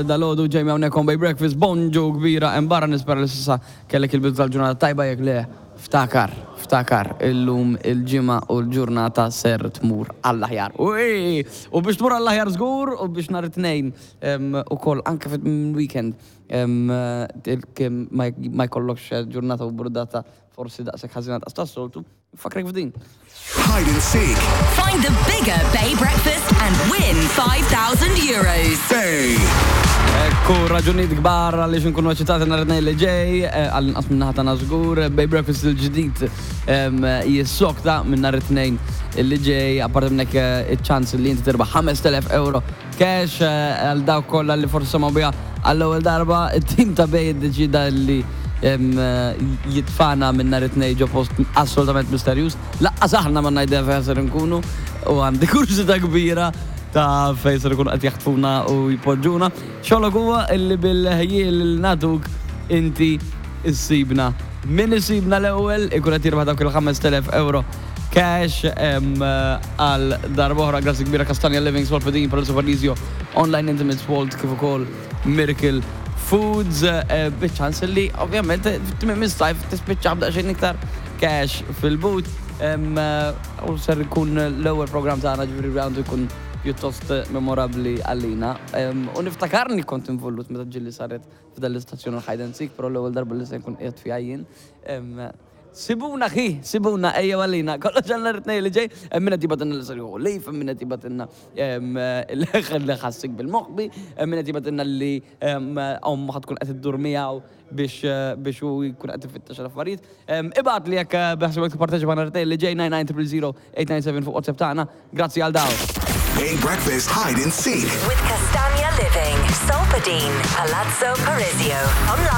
Dalgħodu Jamie hawnhekk on Bay Breakfast, bonġu kbira hemm barra nispera li s'issa kellek il-bidu tal-ġurnata tajba jekk le ftakar, ftakar illum il-Ġimgħa u l-ġurnata ser tmur għall-aħjar. Ui! U biex tmur għall-aħjar żgur u biex nhar it-Tnejn ukoll anke fit-weekend ma jkollokx ġurnata u burdata forsi daqshekk ħażina daqs tas-soltu, Nfakkrek f'din. Hide and seek. Find the bigger Bay Breakfast and win €5,000. Bay. Ekku, raġunijiet kbar għaliex nkunu eċitati nhar it-Tnejn li ġej, eh, għall-inqas minn naħa tagħna żgur, Bay Breakfast il-ġdid jissokta minn nhar it-Tnejn li ġej, apparti minn hekk eh, iċ-ċans li inti tirbaħ 5000 euro cash eh, għal dawk kollha li forsi semgħu biha għall-ewwel darba, it-tim ta' Bay iddeċida li jitfana minn nhar it-Tnejn ġo post assolutament misterjuż. Laqqas aħna ma ngħidha fejn ser inkunu u għandi kurżità kbira ta' fejn ser ikunu qed jaħtfuna u jpoġġuna. Xogħlok huwa illi bil-ħjiel li nagħtuk inti issibna. Min isibna l-ewwel ikun qed jirbaħ dawk il-5000 euro cash għal darb'oħra. Grazzi kbira Castagna Living, Solfedin, Palazzo Parisio, Online Intimates Vault kif ukoll Miracle Foods eh, biċ-ċans li ovvjament tmiem is-sajf tispiċċa b'daqsxejn iktar cash fil-but. Eh, u ser ikun l-ewwel programm tagħna ġifieri għandu jkun pjuttost memorabbli għalina. U niftakarni kont involut meta ġilli saret f'dan l-istazzjon il-hide and seek, però l-ewwel darba li se nkun qiegħed fiha jien. Sibuna ħi, sibuna, ejjew għalina, kollox għal nhar it-Tnejn li ġej, hemm min qed jibgħatilna li ser jieħu leave, hemm min qed jibgħatilna li ħassik bil-moħbi, hemm min qed jibgħatilna li ommu ħa tkun qed iddur miegħu biex biex hu jkun qed ifittex l-affarijiet. Ibgħatli jekk beħsiebek tipparteċipa nhar it-Tnejn li ġej 99 000 897 fuq WhatsApp tagħna. Grazzi għal dawn. Bay Breakfast Hide and Seek. With Castagna Living, Solpadeine, Palazzo Parisio. Online.